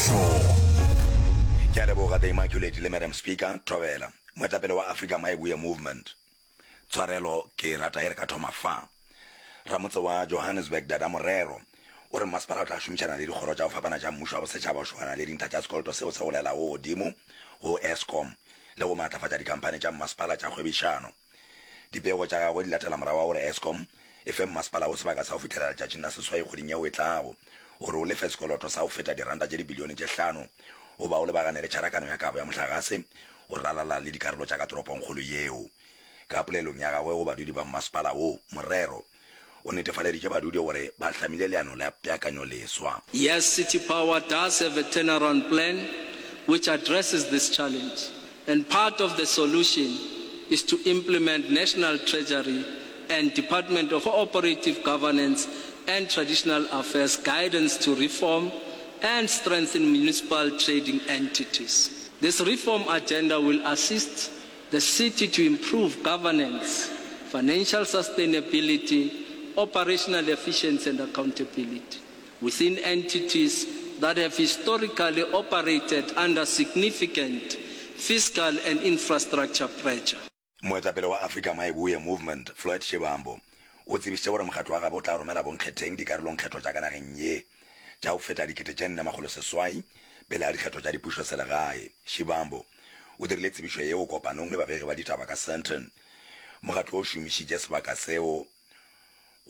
Bokamoso. Ke a leboga The Immaculate le Madam Speaker Thobela, moetapele wa Africa Mayibuye Movement. Tshwarelo ke rata e re ka thoma fa. Ramotse wa Johannesburg Dada Morero o re mmasepala o tla šomišana le dikgoro tša go fapana tša mmušo wa bosetšhaba go šogana le dintlha tša sekoloto seo se golelago godimo go Eskom le go maatlafatša dikhamphani tša mmasepala tša kgwebišano. Dipego tša gagwe di latela morago ga gore Eskom e fe mmasepala wo sebaka sa go fihlelela letšatšing la seswai kgweding yeo e tlago gore o lefe sekoloto sa go feta diranta tše dibilione tše hlano goba o lebagane le tšharakano ya kabo ya mohlagase go ralala le dikarolo tša ka toropongkgolo yeo. Ka polelong ya gagwe go badudi ba mmasepala wo, Morero o netefaleditše badudi gore ba hlamile leano la peakanyoleswa. Yes, City Power does have a turnaround plan which addresses this challenge and part of the solution is to implement National Treasury and Department of Cooperative Governance and Traditional Affairs guidance to reform and strengthen municipal trading entities. This reform agenda will assist the city to improve governance, financial sustainability, operational efficiency and accountability within entities that have historically operated under significant fiscal and infrastructure pressure. Moetapele wa Africa Mayibuye Movement, Floyd Shivambu, o tsebišitše gore mokgatlo wa gabo o tla romela bonkgetheng dikarolongkgetho tša ka nageng ye tša go feta 4800 pele ga dikgetho tša dipušoselegae. Shivambu o dirile tsebišo yeo kopanong le babegi ba ditaba ka Sandton. Mokgatlo o šomišitše sebaka seo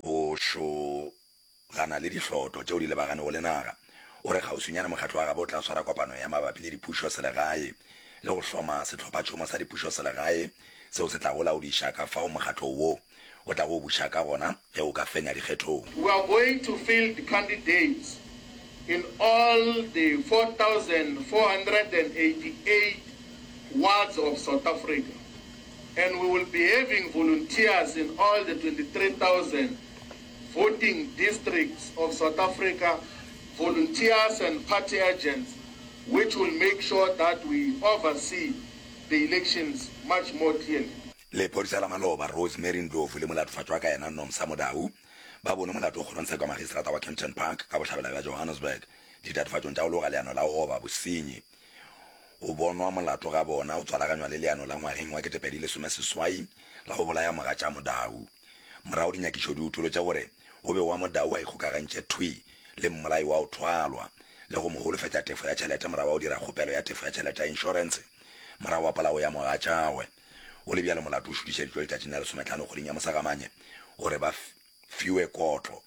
go šogana le dihloto tšeo di lebaganego le naga. O re kgauswinyana mokgatlo wa gabo o tla swara kopano ya mabapi le dipušoselegae le go hloma sehlophatšhomo sa dipušoselegae seo se tlago laodiša ka fao mokgatlo wo o tlago buša ka gona ge o ka fenya dikgethong. We are going to field candidates in all the 4,488 wards of South Africa and we will be having volunteers in all the 23,000 voting districts of South Africa, volunteers and party agents which will make sure that we oversee the elections much more clearly. Lephodisa la maloba, Rosemary Ndlovu le molatofatšwa ka yena Nomsa Modau ba bonwe molato kgorongtsheko ya magistrata wa Kempton Park ka bohlabela bja Johannesburg ditatofatšong tša go loga leano la go oba bosenyi. Go bonwa molato ga bona go tswalaganywa le leano la ngwageng wa 2018 la go bolaya mogatša Modau. Morago dinyakišo di utolotše gore o be wa Modau a ikgokagantše thwi le mmolai wa go thwalwa le go mo holofetša tefo ya tšhelete morago ga go dira kgopelo ya tefo ya tšhelete ya inšorense morago ga polao ya mogatšagwe. Go le bjalo molato o šutišeditšwe letšatšing la lesometlhano kgweding ya Mosagamanye gore ba fiwe kotlo.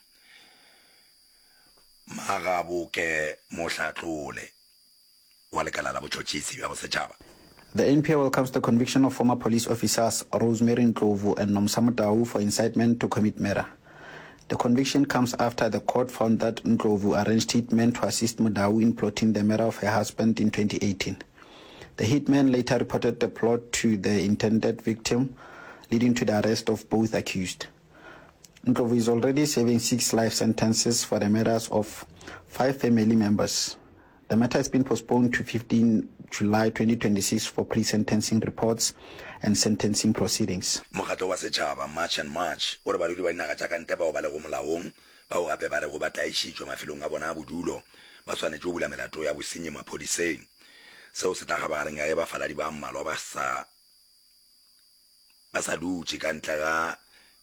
Magaboke Mohlatlole wa lekala la botšhotšhisi bja bosetšhaba. The NPA welcomes the conviction of former police officers Rosemary Ndlovu and Nomsa Motau for incitement to commit murder. The conviction comes after the court found that Ndlovu arranged hitmen to assist Motau in plotting the murder of her husband in 2018. The hitman later reported the plot to the intended victim, leading to the arrest of both accused. Ndlovu is already serving six life sentences for the murders of five family members. The matter has been postponed to 15 July 2026 for pre-sentencing reports and sentencing proceedings. Mokgatlo wa setšhaba, March and March, o re badudi ba dinaga tša ka ntle bao ba lego molaong, bao gape ba rego ba tlaišitšwe mafelong a bona a bodulo, ba swanetše go bula melato ya bosenyi maphodiseng. Seo se tla kgabagareng ya ge bafaladi ba mmalwa ba sa ba sa dutše ka ntle ga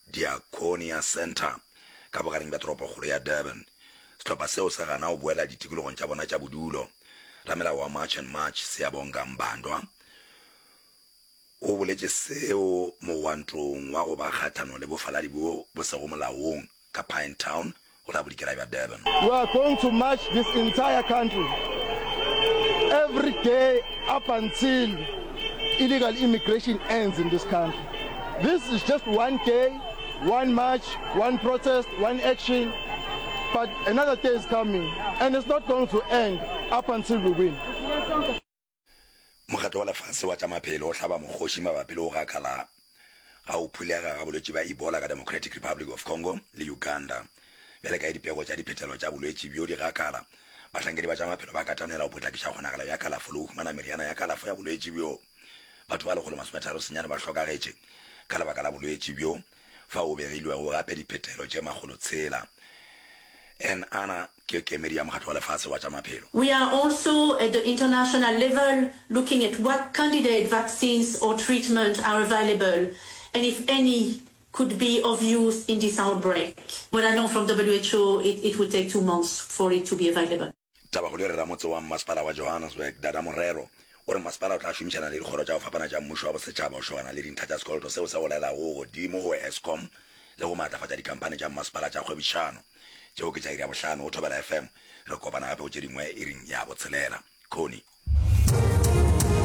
Diaconia Centre ka bogareng bja toropokgolo ya Durban. Sehlopha seo se gana go boela ditikologong tša bona tša bodulo. Ramelao wa March and March, Siyabonga Mbandwa, o boletše seo mogwantong wa go ba kgahlanong le bofaladi bjo bo sego molaong ka Pinetown go la bodikela bja Durban. We are going to march this entire country every day up until illegal immigration ends in this country. This is just one day, one march, one protest, one action, but another day is coming and it's not going to end up until we win. Mokgatlo wa Lefase wa tša Maphelo o hlaba mokgoši mabapi le go gakala ga go phulega ga bolwetši bja Ebola ka Democratic Republic of Congo le Uganda. Bjale ka ge dipego tša diphetelo tša bolwetši bjo di gakala, bahlankedi ba tša maphelo ba katanela go potlakiša kgonagalo ya kalafo le go humana meriana ya kalafo ya bolwetši bjo. Batho ba lekgolo masometharo senyane ba hlokagetše ka lebaka la bolwetši bjo, fao go begilwego gape diphetelo tše makgolotshela. En Ana ke kemedi ya Mokgatlo wa Lefase wa tša Maphelo. We are also at the international level looking at what candidate vaccines or treatment are available and if any could be of use in this outbreak. What I know from WHO, it, it would take two months for it to be available. Tabakgolo e re ramotse wa mmasepala wa Johannesburg, Dada Morero, o re masepala o tla šomišana le dikgoro tša go fapana tša mmušo wa bosetšhaba go šogana le dintlha tša sekoloto seo se golelago godimo go Eskom le go maatlafatša dikhamphani tša mmasepala tša kgwebišano. Tšeo ke tša iri ya bohlano go Thobela FM. Re kopana gape go tše dingwe iring ya botshelela. Connie.